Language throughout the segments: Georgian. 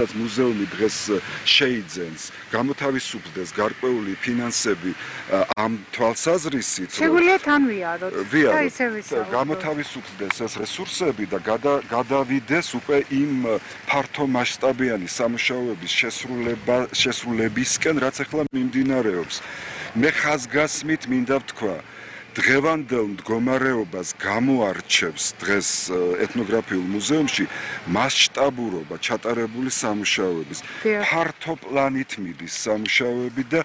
მუზეუმი დღეს შეიძენს, გამოთავისუფლდეს გარკვეული ფინანსები ამ თვალსაზრისით, შეგვიძლია თან ვიაროთ და ისე ვისაუბროთ. გამოთავისუფლდეს ეს რესურსები და გადავიდეს უკვე იმ ფართო მასშტაბიანი სამუშაოების შესრულებისკენ, რაც ახლა მიმდინარეობს. მე ხაზგასმით მინდა ვთქვა, დღევანდელ მდგომარეობას გამოარჩევს დღეს ეთნოგრაფიულ მუზეუმში მასშტაბურობა ჩატარებული სამუშაოების. ფართო პლანით მიდის სამუშაოები და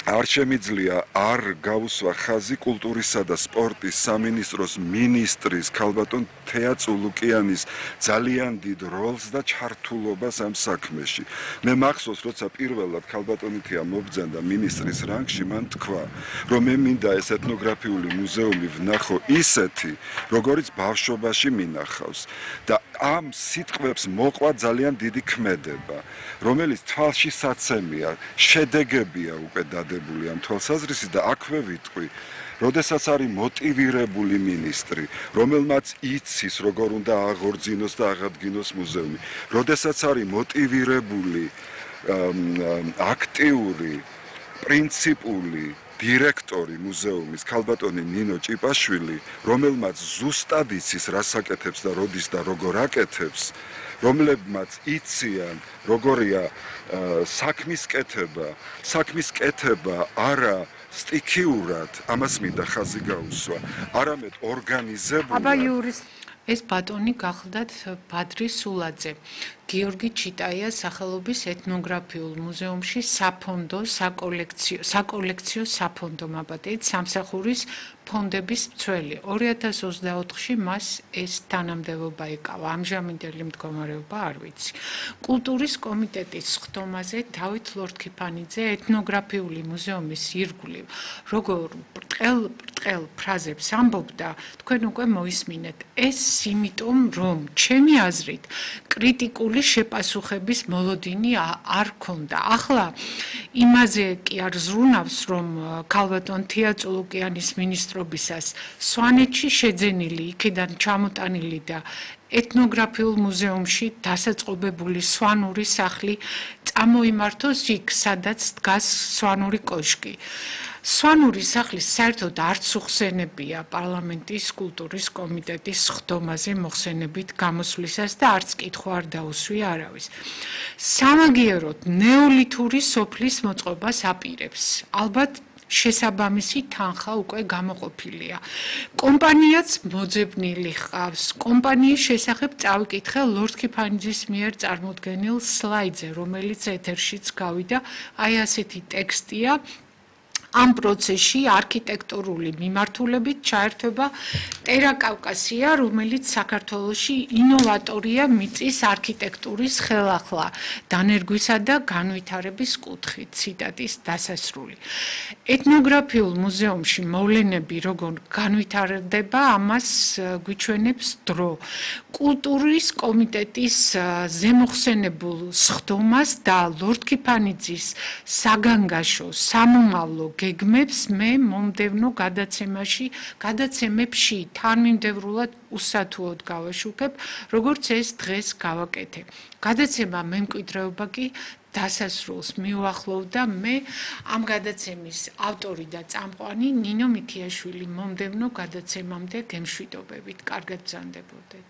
არ შემიძლია არ გაუსვა ხაზი კულტურისა და სპორტის სამინისტროს მინისტრის ქალბატონ თეა წულუკიანის ძალიან დიდ როლს და ჩართულობას ამ საქმეში. მე მახსოვს, როცა პირველად ქალბატონი თეა მობრძანდა მინისტრის რანგში, მან თქვა, რომ მე მინდა ეს ეთნოგრაფიული მუზეუმი ვნახო ისეთი, როგორიც ბავშვობაში მინახავს და ამ სიტყვებს მოყვა ძალიან დიდი ქმედება, რომელიც თვალში საცემია, შედეგებია უკვე დადებული ამ თვალსაზრისით და აქვე ვიტყვი, როდესაც არის მოტივირებული მინისტრი, რომელმაც იცის, როგორ უნდა აღორძინოს და აღადგინოს მუზეუმი, როდესაც არის მოტივირებული, აქტიური, პრინციპული დირექტორი მუზეუმის ქალბატონი ნინო ჭიპაშვილი, რომელმაც ზუსტად იცის, რას აკეთებს და როდის და როგორ აკეთებს, რომლებმაც იციან, როგორია საქმის კეთება არა სტიქიურად, ამას მინდა ხაზი გაუსვა, არამედ ორგანიზებულად. ეს ბატონი გახლდათ ბადრი სულაძე, გიორგი ჩიტაიას სახელობის ეთნოგრაფიულ მუზეუმში საფონდო, საკოლექციო საფონდო მაბადეით სამსახურის ფონდების მცველი. 2024-ში მას ეს თანამდებობა ეკავა. ამჟამინდელი მდგომარეობა არ ვიცი. კულტურის კომიტეტის ხდომაზე დავით ლორთქიფანიძე ეთნოგრაფიული მუზეუმის ირგვლივ როგორ ბრტყელ ფრაზებს ამბობდა, თქვენ უკვე მოისმინეთ. ეს იმიტომ, რომ ჩემი აზრით კრიტიკული შეპასუხების მოლოდინი არ ქონდა. ახლა იმაზე კი არ ზრუნავს, რომ ქალბატონ თეა წულუკიანის მინისტრობისას სვანეთში შეძენილი, იქიდან ჩამოტანილი და ეთნოგრაფიულ მუზეუმში დასაწყობებული სვანური სახლი წამოიმართოს იქ, სადაც დგას სვანური კოშკი. სვანური სახლის საერთოდ არც უხსენებია პარლამენტის კულტურის კომიტეტის ხდომაზე მოხსენებით გამოსვლისას და არც კითხვა არ დაუსვია არავის. სამაგიეროდ ნეოლითური სოფლის მოწყობას აპირებს. ალბათ შესაბამისი თანხა უკვე გამოყოფილია. კომპანიაც მოძებნილი ჰყავს. კომპანიის შესახებ წავიკითხე ლორთქიფანიძის მიერ წარმოდგენილ სლაიდზე, რომელიც ეთერშიც გავიდა, აი ასეთი ტექსტია. ამ პროცესში არქიტექტურული მიმართულებით ჩაერთვება ტერაკავკასია, რომელიც საქართველოში ინოვატორია მიწის არქიტექტურის ხელახლა, დანერგვისა და განვითარების კუთხით. ციტატის დასასრული. ეთნოგრაფიულ მუზეუმში მოვლენები როგორ განვითარდება, ამას გვიჩვენებს დრო. კულტურის კომიტეტის ზემოხსენებულ სხდომას და ლორთქიფანიძის საგანგაშო, სამომავლო გეგმებს მე მომდევნო გადაცემებში თანმიმდევრულად უსათუოდ გავაშუქებ, როგორც ეს დღეს გავაკეთე. გადაცემა მემკვიდრეობა კი დასასრულს მიუახლოვდა. მე ამ გადაცემის ავტორი და წამყვანი ნინო მიქიაშვილი მომდევნო გადაცემამდე გემშვიდობებით. კარგად ბრძანდებოდეთ.